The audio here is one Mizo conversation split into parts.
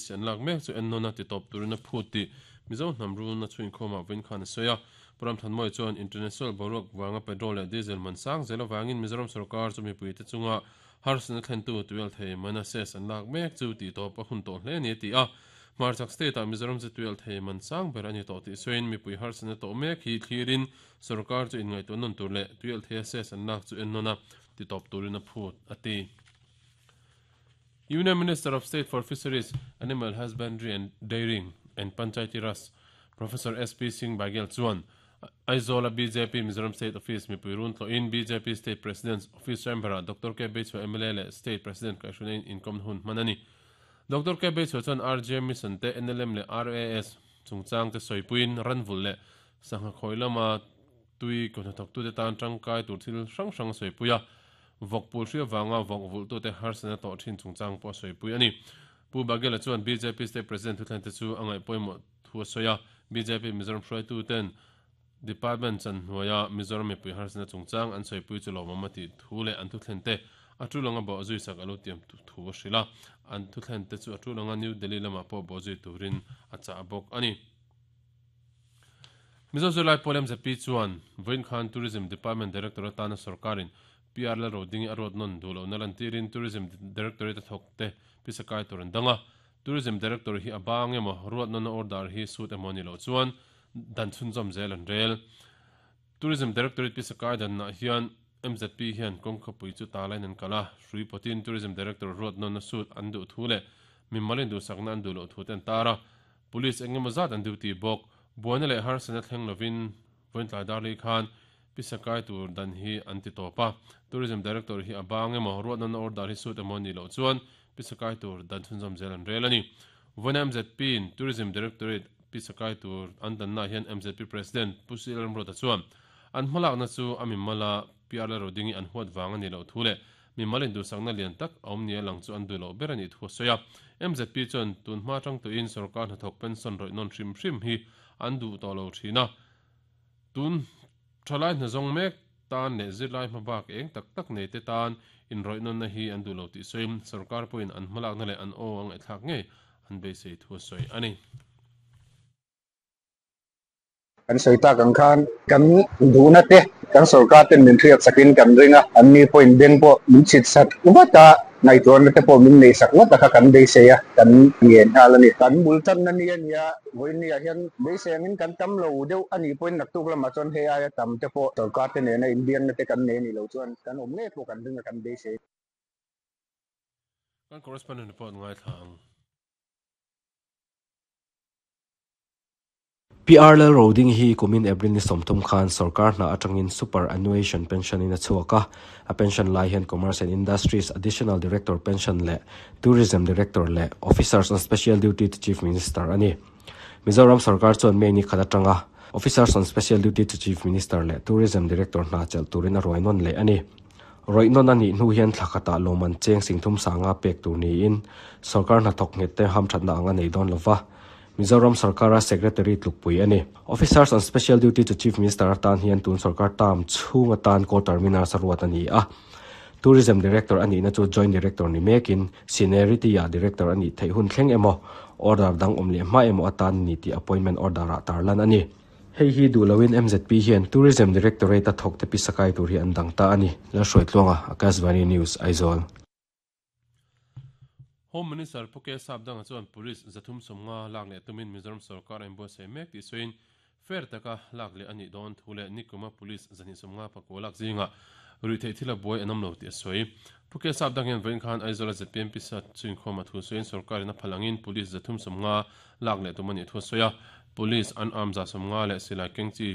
LPC an lak mek chu ennawna titawp turin a phut tih Mizo hnam rulna chhuinkhawmah vawiin khan a sawi a. Pu Ramthanmawia chuan international boruak vanga petrol leh diesel man sang zel avangin Mizoram sorkar chu mipuite chunga harsatna thlentu tuialthei mana cess an lak mek chu tihtawp a hun tawh hle a ni a ti a. Hmarchhak state-ah Mizoram chu tuialthei man sang ber a ni tawh tih sawiin mipui harsatna tawh mek hi thlirin sorkar chu inngaihtuah nawn tur leh tuialtheia cess an lak chu ennawn a titawp turin a phut a ti. Union Minister of State for Fisheries, Animal Husbandry and Dairying and Panchayati Raj, Professor SP Singh Baghel chuan Aizawl-a bjp Mizoram State Office mipui run tlawhin bjp State President's Office Chamber-ah Doctor K Beichhua mla leh State President kaihhruina in inkawmna hun hman a ni. Doctor K Beichhua chuan RGM Mission te NLM leh RAS chungchang te sawipuiin ranvulh leh sangha khawi lama tui kawhnathawktute tan tangkai tur thil hrang hrang a sawipui a. Vawk pul hria vanga vawk vulhtute harsatna tawh thin chungchang pawh a sawipui a ni. Pu Baghela chuan bjp State President thuthlente chu a ngaih pawimawh thu a sawi a, bjp Mizoram hruaituten Department chan hnuaia Mizoram mipui harsatna chungchang an sawipui chu lawmawm a tih thu leh an thuthlente a tul anga bawhzui sak a lo tiam thu a hrilh a, an thuthlente chu a tul anga New Delhi lamah pawh bawhzui turin a chah bawk a ni. Mizo Zirlai Pawl MZP chuan vawiin khan Tourism Department Director atana sorkarin PR Lalrodingi a ruat nawn duh lohna lantirin Tourism Directorate a thawk te pisa kai tur an dang a. Tourism Director hi a bang emaw, ruat nawnna order hi suit emaw a nih loh chuan dan chhunzawm zel an rel. Tourism Directorate pisa kai danah hian MZP hian kawngkhawpui chu talain an kal a, hrui pawtin Tourism Director ruat nawnna suit an duh thu leh mimalin duhsakna an duh loh thu te an tar a. Police eng emaw zat an duty bawk. Buaina leh harsatna thleng lovin vawiin Darlei khan pisa kai tur dan hi an ti tawp a. Tourism Director hi a bang emaw, ruatnawna order hi suit emaw a nih loh chuan pisa kai tur dan chhunzawm zel an rel a ni. Vawiina MZP in Tourism Directorate pisa kai tur an dannaah hian MZP President Pu Sir Ramruata chuan an hmalakna chu a mimala PR Lalrodingi an huat vang a nih loh thu leh Mimal induhsakna lian tak a awm nia lang chu an duh loh ber a nih thu a sawi a. MZP chuan tun hma atang tuiin sorkar hnathawk pension rawih nawn hrim hrim hi an duh tawh lo thin a. Tun thalai hnazawng mek tan leh zirlai hma bak eng tak tak nei te tan inrawih nawnna hi an duh lo tih sawiin sorkar pawhin an hmalakna leh an aw a ngaihthlak ngei an beisei thu a sawi a ni. Kan sawi tak ang khan kan duhna te kan sorkar ten min hriat sakin kan ring a, an ni pawhin beng pawh min chhit sak vat a, ngaihtuahna te pawh min nei sak vat a kha kan beisei a, kan ngen nghal a ni. Kan bul tanna ni a nia, vawiin-ah hian beisei angin kan tam lo deuh a nih pawhin naktuk lamah chuan hei aia tam te pawh sorkar te nena inbiakna te kan nei a nih loh chuan kan awm ngei pawh kan ring a, kan beisei. Kan correspondent report ngaithla ang. PR Lalroding hi kumin April ni 30 khan sorkar hna atangin superannuation pension in a chhuak a, a pension lai hian Commerce and Industries Additional Director pension leh Tourism Director leh Officers on Special Duty to Chief Minister a ni. Mizoram sorkar chuan May ni khat atanga Officers on Special Duty to Chief Minister leh Tourism Director hna chelh turin a ruai nawn leh a ni. Rawih nawn a nih hnu hian thla khatah lawmman cheng singthum sanga pek tur niin sorkar hnathawk nghet te hamthatna ang a nei dawn lova. Mizoram sorkara Secretary tlukpui a ni. Officers on Special Duty to Chief Minister atan hian tun sorkar term chhung atan co-terminals a ruat a ni a. Tourism Director a nihna chu Joint Director ni mekin Seniority-ah Director a nih theih hun thleng emaw, order dang awm leh hma emaw atan ni tih appointment order-ah tarlan a ni. Hei hi duh loin MZP hian Tourism Directorate-a thawkte pisa kai tur hi an dang ta a ni. Lalhruaitluanga, Akashvani News, Aizawl. Home Minister Pu K Sapdanga chuan Police 350 lak leh tumin Mizoram sorkar a inbuatsaih mek tih sawiin fair taka lak leh a nih dawn thu leh nikuma Police 259 lak zingah ruihtheih thil a buai an awm lo tih a sawi. Pu K Sapdang hian vawiin khan Aizawl-a zpm pisa chhuinkhawm a thu sawiin sorkarin a phal angin Police 350 lak leh tum a nih thu a sawi a, Police unarmed 150 leh silai keng chi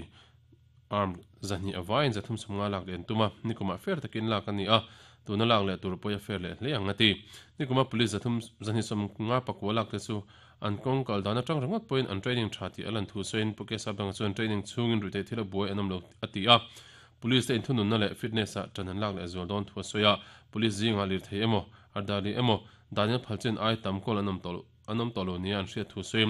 Arm 200 a vaiin 350 lak leh an tum a, nikumah fair takin lak a ni a, tuna lak leh tur pawia fair leh hle ang a ti. Nikuma police 329 lak te chu an kawng kal dan atang ringawt pawhin an training tha tih a lan thu sawiin Pu Kesha Banga chuan training chhungin ruihtheih thil a buai an awm lo a ti a, police te inthununna leh fitness ah tan an lak leh zual dawn thu a sawi a, police zingah lirthei emaw, ardali emaw, danin a phal chin ai tam kawl an awm tawh lo. An awm tawh lo nia an hriat thu sawi.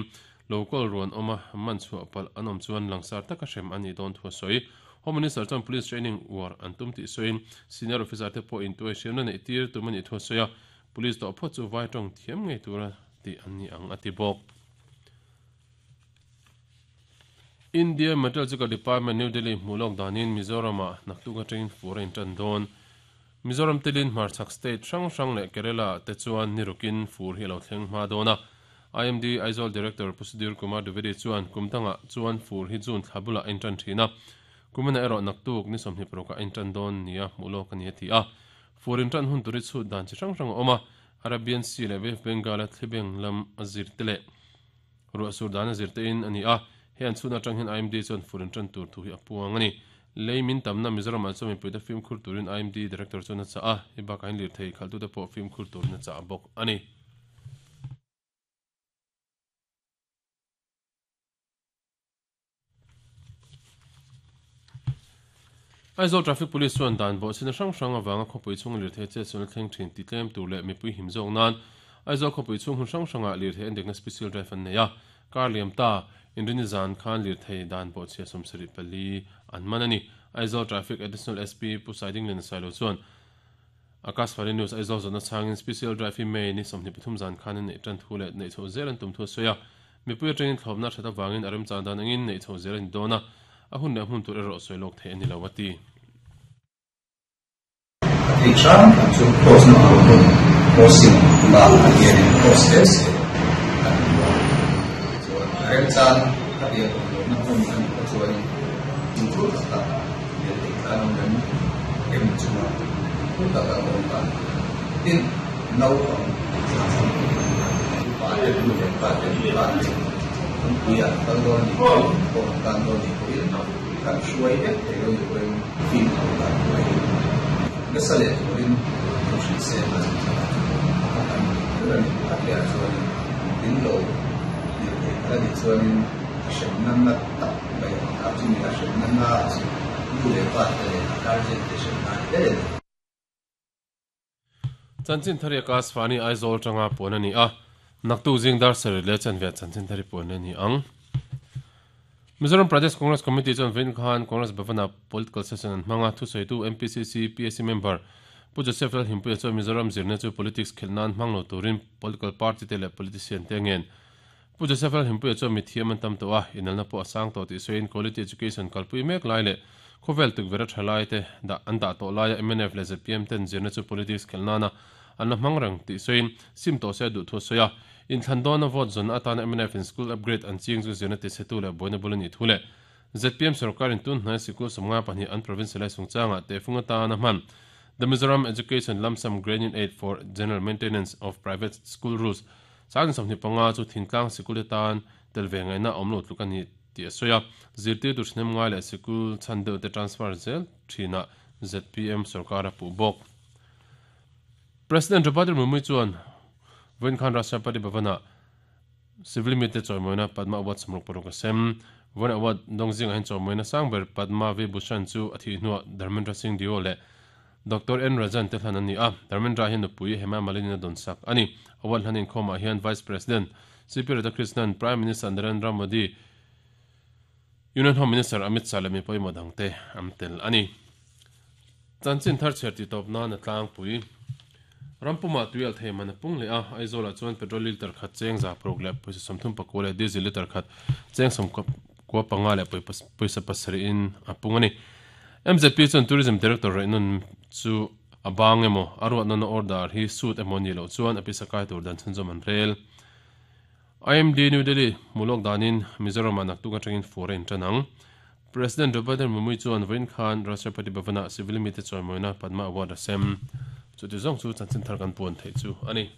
Lo kawl ruan awm a, man chhuah palh an awm chuan langsar taka hrem a nih dawn thu a sawi. Home Minister chuan Police training uar an tum tih sawiin Senior Officer te pawh intuai hriamna neih tir tum a nih thu a sawi a, Police tawh phawt chu vai tawng thiam ngei tura tih an ni ang a ti bawk. India Meteorological Department, New Delhi hmuh lawk danin Mizoram-ah naktuk atangin fur a intan dawn. Mizoram telin hmarchhak state hrang hrang leh Kerala te chuan ni rukin fur hi a lo thleng hma dawn a. IMD Aizawl Director Pu Sudhir Kumar Dwivedi chuan kum dangah chuan fur hi June thla bulah a intan thin a. Kumina erawh naktuk ni 26 ah a intan dawn nia hmuh lawk a ni a ti a. Fur intan hun tur hi chhut dan chi hrang hrang a awm a, Arabian Sea leh Bay of Bengal-a thlibeng lam a zir te leh Ruah sur dan a zir te in a ni a, he an chhun atang hian IMD chuan fur in tan tur thu hi a puang a ni. Lei min tamna Mizoram ah chuan mipuite fimkhur turin IMD Director chuan a chah a, hei bakah hian lirthei khalhtute pawh fimkhur turin a chah bawk a ni. Aizawl Traffic Police chuan dan bawhchhina hrang hrang avanga khawpui chhunga lirthei chetsualna thleng thin ti tlem tur leh mipui him zawk nan Aizawl khawpui chhung hun hrang hrangah lirthei an dekna Special Drive an nei a. Kar liam ta, Inrini zan khan lirthei dan bawhchhia 74 an man a ni. Aizawl Traffic Additional SP Pu Saidingliana Sailo chuan Akashvani News Aizawl zawhna chhangin Special Drive hi May ni 23 zan khan an neih tan thu leh neih chhoh zel an tum thu a sawi a. Mipui atangin thlawpna that avangin a remchang dan angin neih chhoh zel a ni dawn a, a hun leh hmun tur erawh sawi lawk theih a ni lo a ti. A theih hram hram chu cross na tur hmun crossing bakah hianin cross hle se kan duh a, tichuan a remchang a biak awm lohna hmun a nih kha chuanin fimkhur taka biak theih tlan awm rem em chunga fimkhur taka awm dan tin Naupang thla upa te nu leh pa te nula te kawngpui ah kal dawn a nih pawhin kawng an tan dawn a nih pawhin kan hruai vek thei lo nih pawhin fimkhur dan tur a hi nasa leh turin thu hrilh se a zin thla ah chu a kha kan duh ber a ni. A piah chuanin in lo lir thei kha a nih chuanin a hremna na tak mai a chumi a hremna na chu nu leh pa te leh a guardian te hremna a ni ber a ni. Chanchin Thari Akashvani Aizawl atanga puan a ni a, naktuk zing dar sarih leh chanve ah Chanchin Thari puan a ni ang. Mizoram Pradesh Congress Committee chuan vawiin khan Congress Bhavan-ah Political Session an hmang a, thusawitu MPCC PAC member Pu Joseph Lalhimpuia chuan Mizoram zirna chu politics khelh nan hmang lo turin political party te leh politician te a ngen. Pu Joseph Lalhimpuia chuan mithiam an tam tawh a, inalna pawh a sang tawh tih sawiin quality education kalpui mek lai leh khawvel tukverh a tha lai te dah an dah tawh laia mnf leh zpm ten zirna chu politics khelh nana an la hmang reng tih sawiin sim tawh se a duh thu a sawi a. Inthlan dawna vote zawnna atana mnf in school upgrade an ching chu zirna tichhetu leh buaina bul a nih thu leh zpm sorkarin tun hnai sikul 52 an provincialise chungchangah tehfung atana hman The Mizoram Education Lump Sum Grant-in Aid for General Maintenance of Private School Rules 25 chu thingtlang sikul te tan tel ve ngaihna a awm lo tluk a ni tih a sawi a, zirtirtu thahnem ngai leh sikul chhan deuh te transfer zel thinah zpm sorkar a puh bawk. President Draupadi Murmu chuan vawiin khan Rashtrapati Bhavan-ah civil mite chawimawina Padma Award 66 a sem. Vawiin award dawng zingah hian chawimawina sang ber Padma Vibhushan chu a thih hnuah Dharmendra Singh Deo leh Doctor N. Rajan te hlan an ni a, Dharmendra hian nupui Hema Malini a dawnsak a ni. Award hlan inkhawmah hian Vice President CP Radhakrishnan, Prime Minister Narendra Modi, Union Home Minister Amit Shah leh mi pawimawh dangte an tel a ni. Chanchin thar chhiar tih tawp nan a tlangpui. Rampumah tui alh thei man a pung leh a, Aizawlah chuan petrol litre khat cheng 600 leh pawisa 39 leh diesel litre khat cheng 95 leh pawisa pasarih in a pung a ni. MZP chuan Tourism Director Raihnun chu a bang emaw, a ruat nana order hi suit emaw nih loh chuan a pisa kai tur dan chhunzawm an rel. IMD New Delhi hmu lawk danin Mizoram-ah naktuk atangin fur a intan ang. President Draupadi Murmu chuan vawiin khan Rashtrapati Bhavan-ah civil mite chawimawina Padma Award a sem. Chuti zawng chu chanchin thar kan puan theih chu a ni.